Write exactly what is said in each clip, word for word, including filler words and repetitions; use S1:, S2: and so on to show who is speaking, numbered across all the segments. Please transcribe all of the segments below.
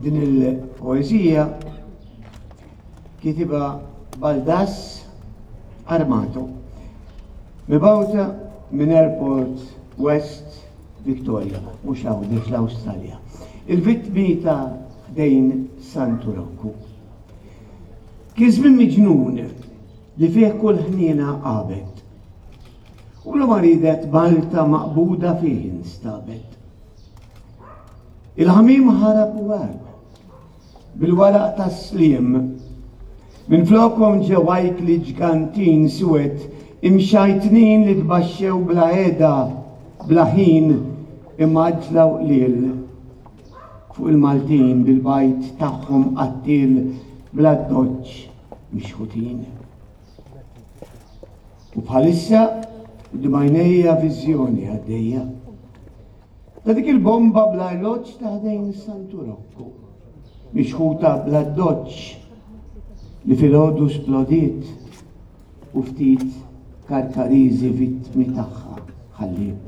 S1: Din il-poeżija kitibha Baldass Armato, mibgħuta minn Airport West Victoria, mhux Għawdex, l-Awstralja. Il-vittmi ta' ħdejn Santu Rokku. Kien żmien miġnun li fih kull ħniena għabet. U bla ma ridet Malta maqbuda fih instabet. Il-ħamiem ħarab u għeb bil-waraq tas-sliem. Minflokhom ġew ajkli ġgantin suwed imxajtnin li tbaxxew bla heda, bla ħin, imgħaġġla u qliel fuq il-Maltin bil-bajd tagħhom qattiel bl-addoċċ mixħutin. U bħalissa quddiem għajnejja viżjoni għaddejja ta' dik il-bomba bl-arloġġ ta' ħdejn Santu Rokku, mixħuta bl-addoċċ li filgħodu splodiet u ftit Karkariżi vittmi tagħha ħalliet.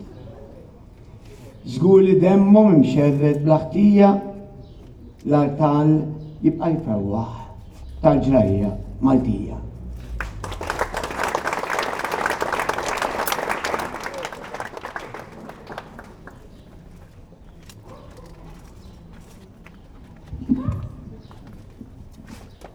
S1: Żgur li demmhom imxerred bla ħtija l-artal jibqa' jfewwaħ tal-ġrajja Maltija.